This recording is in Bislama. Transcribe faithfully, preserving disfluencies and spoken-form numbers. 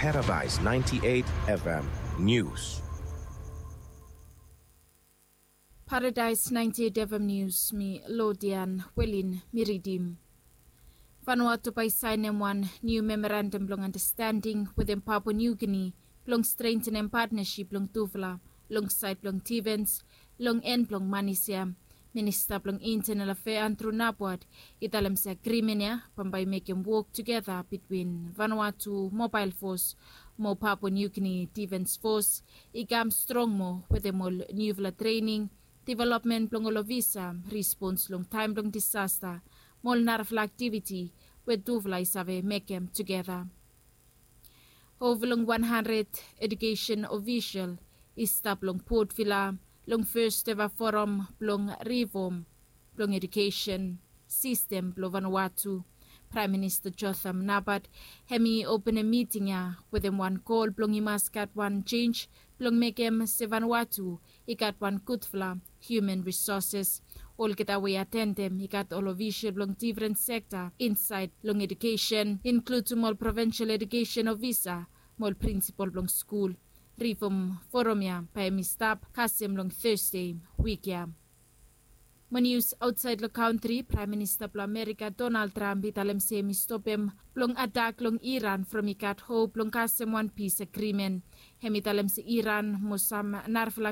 Paradise ninety-eight F M News. Paradise ninety-eight F M News, mi Lodian Welin mi ridim. Vanuatu bae i saenem wan niu memorandam blong andastanding wetem Papua Niu Gini blong strentenem patnasip blong tufala long saed blong difens. Long en blong manis ya, Minista blong Intenal Afea Andru Napuat i talem se agrimen ya bambae i mekem wok tugeta bitwin Vanuatu Mobael Fos mo Papua Niu Gini Difens Fos i kam strong moa wetem ol niufala trening, developmen blong ol ofisa, respons long taem blong disasta mo ol narafala aktiviti we tufala i save mekem tugeta. Ova long wan handred edukesen ofisol i stap long Port Vila long fes eva foram blong rifom blong edukesen sistem blong Vanuatu. Praem Minista Jotham Napat hem i openem miting ya wetem wan gol blong i mas gat wan jenj blong mekem se Vanuatu i gat wan gudfala hiuman risoses. Olgeta we i atendem i gat ol ofisol blong difren sekta insaed long edukesen, inkludem ol provensol edukesen ofisa mo ol prinsipol blong skul. Rifom foram ya bae hem i stap kasem long Tesde wik ya. Mo nius aotsaed long kantri, Praem Minista blong Amerika Donald Trump i talem se hem i stopem blong atak long Iran from i gat hop blong kasem wan pis agrimen. Hem i talem se Iran mo sam narafala